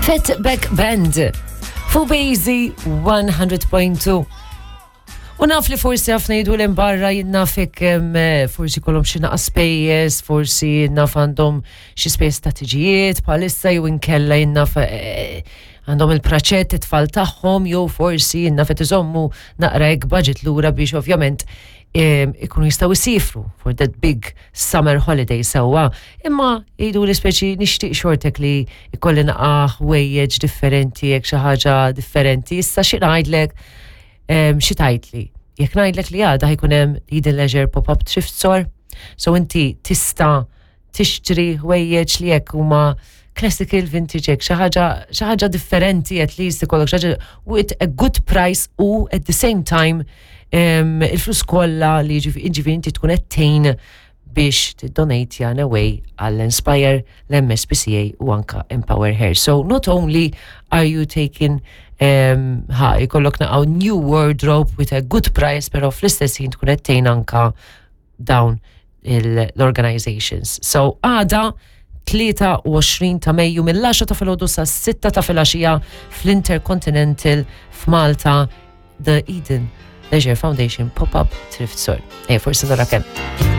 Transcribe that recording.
Fatback Band fuq Bazy 100.2. U naf li forsi ħafna jgħidu l barra jinnafek forsi kolom xi naqa spejjeż, forsi naf għandhom xi spejjeż ta' tiġijiet bħalissa jew inkella jinnaf eh, għandhom il-praċett it-tfal tagħhom jew forsi jinnaf qed iżommu naqra hekk budget lura biex ovvjament ikunu jistgħu jsifru for that big summer holiday sewwa. Imma jgħidu li speċi nixtieq xortek li jkolli naqa' ħwejjeġ differenti jekk xi ħaġa differenti. Issa xi ngħidlek xi tgħidli. Jekk ngħidlek li għada ħajkun hemm Eden Leisure Pop-up Thrift Store, so inti tista' tixtri ħwejjeġ li jekk huma classical vintage hekk xi ħaġa xi ħaġa differenti at least ikollok xi ħaġa with a good price u at the same time il-flus kollha li jiġifieri inti tkun qed tgħin biex tiddonate in a way għall-Inspire, l-MSPCA u anka Empower Her. So not only are you taking ħa jkollok naqaw new wardrobe with a good price, pero fl-istess ħin tkun qed tgħin anka dawn l-organizations. So għada 23 ta' Mejju mill-10 ta' filgħodu sa' 6 ta' filgħaxija fl-Intercontinental f'Malta The Eden Leisure Foundation Pop-Up Thrift Store. Ej, forsi nara kemm.